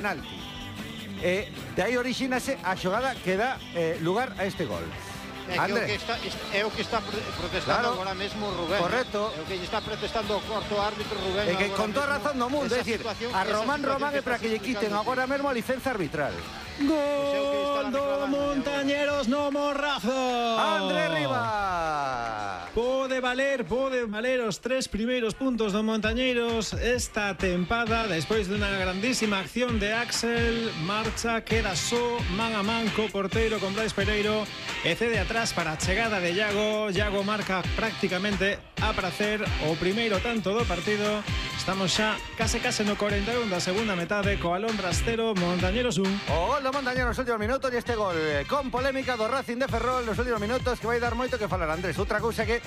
penalti. De aí orixínase a xogada que dá lugar a este gol. É o que está protestando agora mesmo Rubén. Correcto. É o que está protestando o cuarto árbitro Rubén. E que con toda razón do mundo, é dicir, a Román é para que lle quiten agora mesmo a licenza arbitral. Gol do Montañeros no Morrazo. André Rivas. Pode valer os 3 primeiros puntos do Montañeiros esta tempada. Despois dunha grandísima acción de Axel, marcha, queda só man a man co porteiro con Brais Pereiro e cede atrás para a chegada de Iago. Iago marca prácticamente a pracer o primeiro tanto do partido. Estamos xa case no 41 da segunda metade co Alondras 0, Montañeros 1. O gol do Montañeros nos últimos minutos e este gol con polémica do Racing de Ferrol nos últimos minutos que vai dar moito que falar, Andrés. Outra cousa que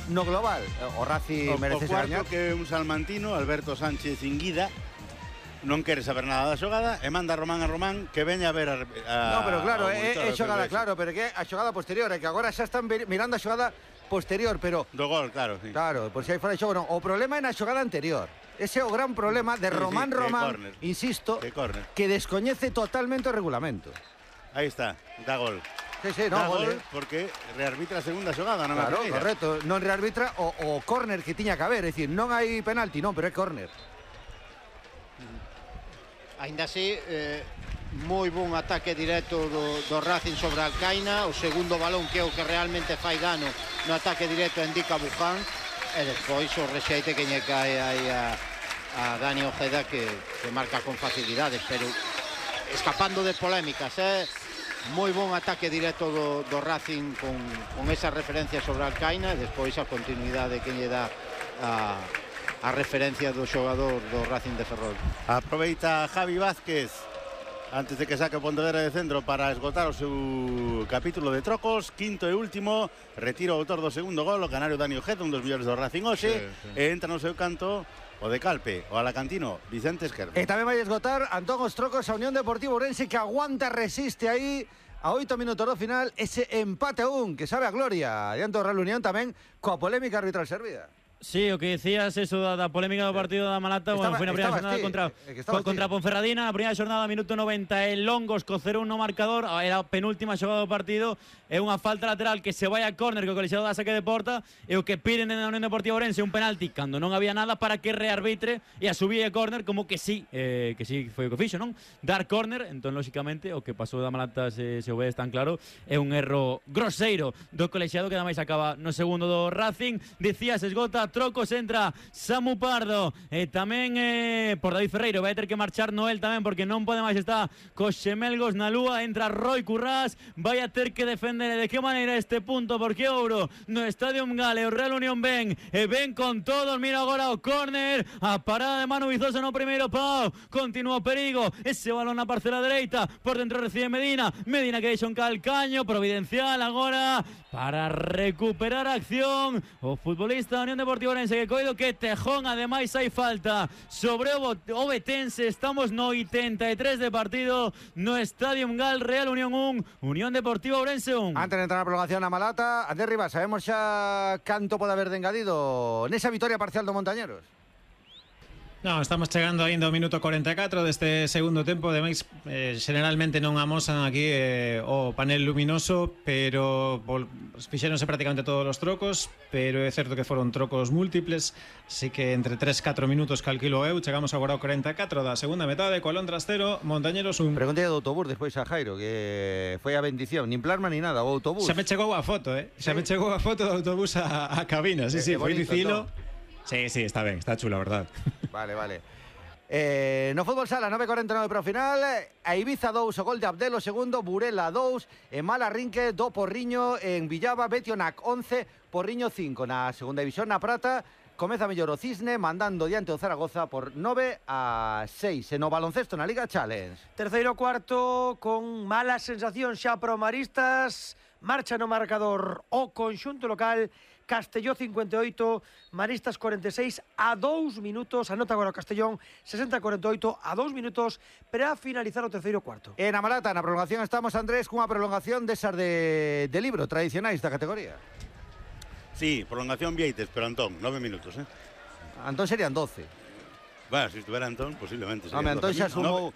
no global o Racing merece ser gañar. O cuarto que un salmantino, Alberto Sánchez Inguida, non quere saber nada da xogada e manda a Román que veña a ver a no, pero claro, é xogada, claro, pero que a xogada posterior, é que agora xa están mirando a xogada posterior, pero do gol, claro, sí. Claro, por si hai fora de xogo, non. O problema é na xogada anterior. Ese é o gran problema de Román, insisto, que descoñece totalmente o regulamento. Aí está, da gol. Sí, no, gol, porque rearbitra a segunda xogada, non claro, correcto, non rearbitra o córner que tiña que haber, é dicir, non hai penalti, non, pero é córner. Ainda así, moi bon ataque directo do Racing sobre Alcaina, o segundo balón que é o que realmente fai dano no ataque directo indica Buján, e despois o rexeite que lle cae aí a Dani Ojeda que marca con facilidades, pero escapando de polémicas, moi bon ataque directo do Racing con esa referencia sobre Alcaina e despois a continuidade que lle dá a referencia do xogador do Racing de Ferrol. Aproveita Javi Vázquez antes de que saque Pontevedra de centro para esgotar o seu capítulo de trocos, quinto e último, retira o autor do segundo gol, o canario Dani Ojeda, un dos mellores do Racing hoxe, e entra no seu canto o de Calpe, o alacantino Vicente Esquerdo. E tamén vai esgotar Antón os trocos a Unión Deportiva Ourense, que aguanta, resiste aí a 8 minutos do final ese empate a 1 que sabe a gloria. Diante do Real Unión tamén coa polémica arbitral servida. Sí, o que decías eso da polémica do partido da Malata, bueno, foi na primeira xornada contra Ponferradina, na primeira xornada, minuto 90, el Longos co 0-1 no marcador, era a penúltima xogada do partido, é unha falta lateral que se vai a córner que o colexiado da saque de porta, e o que piden na Unión Deportiva Ourense un penalti cando non había nada para que rearbitre e a subir a córner como que sí foi o que fixo, non? Dar córner, entón lóxicamente o que pasou da Malata se o vedes tan claro, é un erro groseiro do colexiado que ademais acaba no segundo do Racing. Dicías, esgota trocos, entra Samu Pardo e tamén por David Ferreiro vai ter que marchar Noel tamén porque non pode máis, está cos xemelgos na lúa, entra Roy Currás, vai a ter que defender de que maneira este punto porque ouro no Estadio Gale, o Real Unión ven con todos, mira agora o córner, a parada de Manu Vizosa no primeiro pau, continúa o perigo, ese balón na parcela dereita, por dentro recibe Medina que deixa un calcaño providencial agora para recuperar a acción o futbolista da Unión Deportiva Ourense que coido que Tejón, ademais hai falta sobre o Betense. Estamos no 83 de partido no Estadio Gal, Real Unión 1, Unión Deportiva Ourense 1. Antes de entrar na prolongación a Malata, Andrés Rivas, sabemos xa canto pode haber de engadido nesa vitoria parcial do Montañeros? No, estamos chegando ainda ao minuto 44 deste segundo tempo. Ademais, generalmente non amosan aquí o panel luminoso, pero fixéronse prácticamente todos os trocos, pero é certo que foron trocos múltiples, así que entre 3-4 minutos calquilo eu. Chegamos agora ao 44 da segunda metade, co Alondras 0, Montañeros 1. Preguntei do autobús despois a Jairo, que foi a bendición, nin plasma ni nada, o autobús. Xa me chegou a foto, xa me chegou a foto do autobús a cabina, sí, foi dicilo. Sí, está ben, está chulo, a verdad. Vale. No fútbol sala, 9:49 para o final, a Ibiza 2, o gol de Abdel, o segundo, Burela 2, e Malarrinque do Porriño en Villaba, Betionac 11, Porriño 5. Na segunda división, na Prata, comeza mellor o Cisne, mandando diante o Zaragoza por 9-6. E no baloncesto na Liga Challenge. Terceiro cuarto, con malas sensacións xa para o Maristas, marcha no marcador o conxunto local. Castelló 58, Maristas 46, a 2 minutos, anota agora o Castellón, 60-48, a 2 minutos para finalizar o terceiro cuarto. En a Malata, na prolongación estamos, Andrés, cunha prolongación desas de libro tradicionais da categoría. Sí, prolongación Vieites, pero Antón, 9 minutos, Antón serían 12. Bueno, se estuviera Antón, posiblemente. Home, Antón xa sumou...